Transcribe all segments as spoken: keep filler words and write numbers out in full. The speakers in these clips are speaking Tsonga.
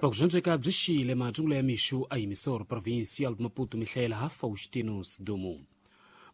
Vakuzvanzveka byi xile matsungula ya mixo a yimisoro provincial de Maputo mihlela ha Faustino Sidumo.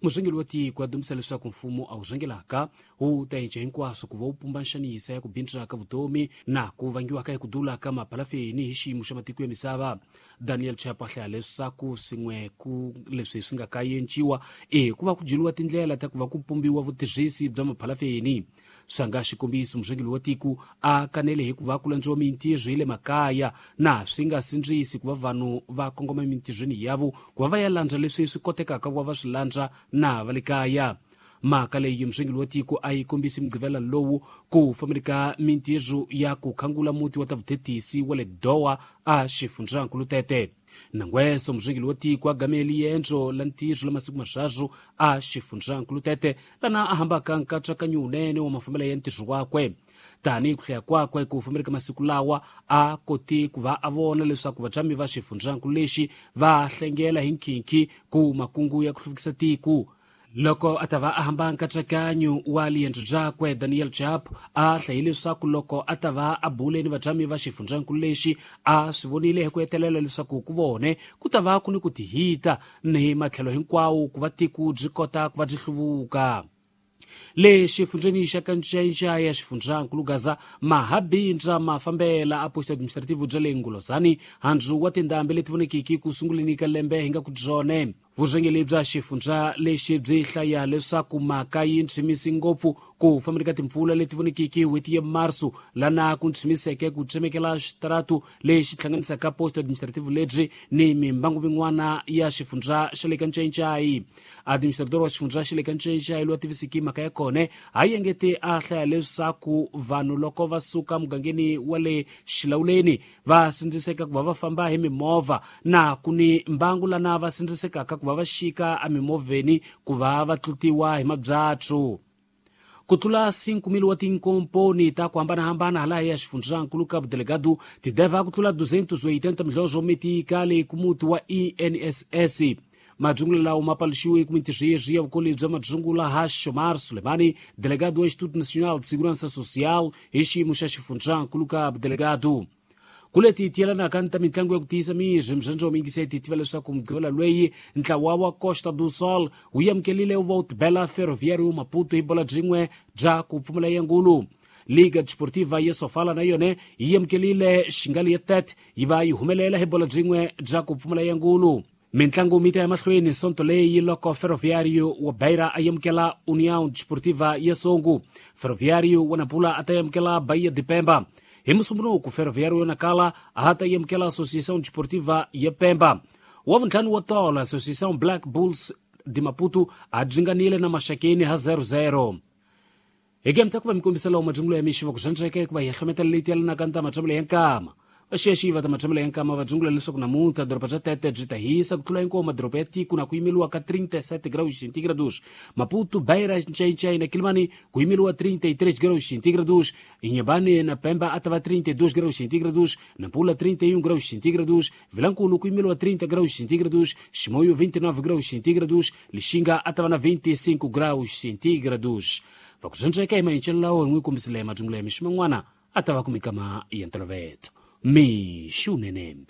Murhangeri wa tiko a dumisa leswaku mfumo a wu rhangelaka wu ta cinca hinkwaswo ku va wu pumba nxanisa ya ku bindzula ka vutomi na ku vangiwaka hi ku dula ka mapalafeni hi xiyimo xa matiko ya misava. Daniel Chapo a hlaya leswaku swin'we ku leswi swi nga kayenciwa i ku va ku dyeliwa tindlela ta ku va ku pumbiwa vutirhisi bya mapalafeni. Swa nga xikombiso murhangeri wa tiko a kanele hi ku va ku landziwa mintirho hi le makaya na swi nga sindzisi ku va vanhu va kongoma emintirhweni yavo ku va va ya landza leswi swi kotekaka ku va va swi landza na va le kaya. Mhaka leyi murhangeri wa tiko a yi kombisi mugqivela lowu ku fambeni ka mintirho ya ku khangula muti wa ta vuthetisi wa le Doha a xifundzankulu Tete. Nangweso murhangeri wa tiko a gameli yendzo la ntirho la masiku marharu a xifundzankulu Tete lana a hambaka nkatsakanyo wunene wa mafambelo ya ntirho wakwe. Tanihi ku hlaya kwakwe ku fambeni ka masiku lawa a koti ku va a vona leswaku vatshami va xifundzankulu lexi va hlengela hi nkhinkhi ku makungu ya ku hluvukisa tiko. Loko a ta va a hamba nkatsakanyo wa liendzo byakwe Daniel Chapo a hlayile leswaku loko a ta va a bule ni vatshami va xifundzankulu lexi a swi vonile hi ku hetelela leswaku ku vone ku ta va ku ni ku tihita ni matlhelo hinkwawo ku va tiko byi kota ku va byi hluvuka. Le xifundzeni xa Kanchenja ya xifundzankulu Gaza mahabindza mafambela a posto administrativo bya le Ngulozani handzu wa tindhambi leti vonekiki ku sunguleni ka lembe hi nga ku byone. Vurhangeri bya xifundza lexi byi hlaya leswaku mhaka yi ntshimisi ngopfu ku fambeni ka timpfula leti vonekiki n'hweti ya Marso lana ku ntshimiseke ku tsemekela xitaratu lexi hlanganisaka posto administrativo lebyi ni mimbangu min'wana ya xifundza xa le Kanchenjai. Administrador wa xifundza xa le Kanchenjai loyi a tivisiki mhaka ya kona a yengete a hlaya leswaku vanhu loko va suka mugangeni wa le Xilawuleni va sindziseka ku va va famba hi mimovha na ku ni mbangu lana va sindzisekaka ku va va xika emimovheni ku va va tlutiwa hi mabyatsu. Ku tlula cinco mil wa tinkomponi ta ku hambanahambana hala ya xifundzankulu Cabo Delgado ti deva ku tlula duzentos e oitenta milhões metikali ku muti wa I N S S. Madzungula lawo ma paluxiwe ku mintirho ya vukoli bya madzungula ha Shomar Sulemani, delegado wa Instituto Nacional de Segurança Social hi xiyimo xa xifundzankulu Cabo Delgado. Kuleti tiyelanaka ni ta mitlangu ya ku tiyisa miri mzandzo wa mingiseti tiva leswaku mugqivela lweyi ntlawa wa Costa do Sol wu amukelile wu va wu tibela Ferroviário Maputo hi bola byin'we bya ku pfumala ya ngulu. Liga Desportiva ya Sofala na yona yi amukelile Xingali ya Tete yi va yi humelela hi bola byin'we bya ku pfumala ya ngulu. Mintlangu mi ta ya mahlweni sonto leyi loko Ferroviário wa Beira a amukela União Desportiva ya Songo. Ferroviário wa Nampula a ta amukela Bahia de Pemba. Hi Musumbunuku Ferroviário ya Nacala a ta amukela Associação Desportiva ya Pemba. Wa vuntlhanu wa tolo Associação Black Bulls de Maputo a dzinganile na Maxakeni ha zero zero. Hi game ta ku va mi kombisa lawo madzungulo ya mixi va ku zvandzeka ku va hi hlometela leyi tiyelanaka ni ta matshambelo ya nkama. Vaxiyaxiyi va ta matshambelo ya nkama va dzungula leswaku namuntlha doroba bya Tete byi ta hisa ku tlula hinkwawo madoroba ya tiko na ku yimeliwa ka trinta e sete graus centígrados. Maputo, Beira, Nchainchai na Quilimane ku yimeliwa trinta e três graus centígrados. Inhambane na Pemba a ta va trinta e dois graus centígrados. Nampula trinta e um graus centígrados. Vilankulo ku yimeliwa trinta graus centígrados. Chimoio vinte e nove graus centígrados. Lixinga a ta va na vinte e cinco graus centígrados. Vakuzvandzeka hi mayincelo lawo hi n'wi kombisile madzungula ya mixi man'wana a ta va ku mikama ya ntolovelo. Mixunene.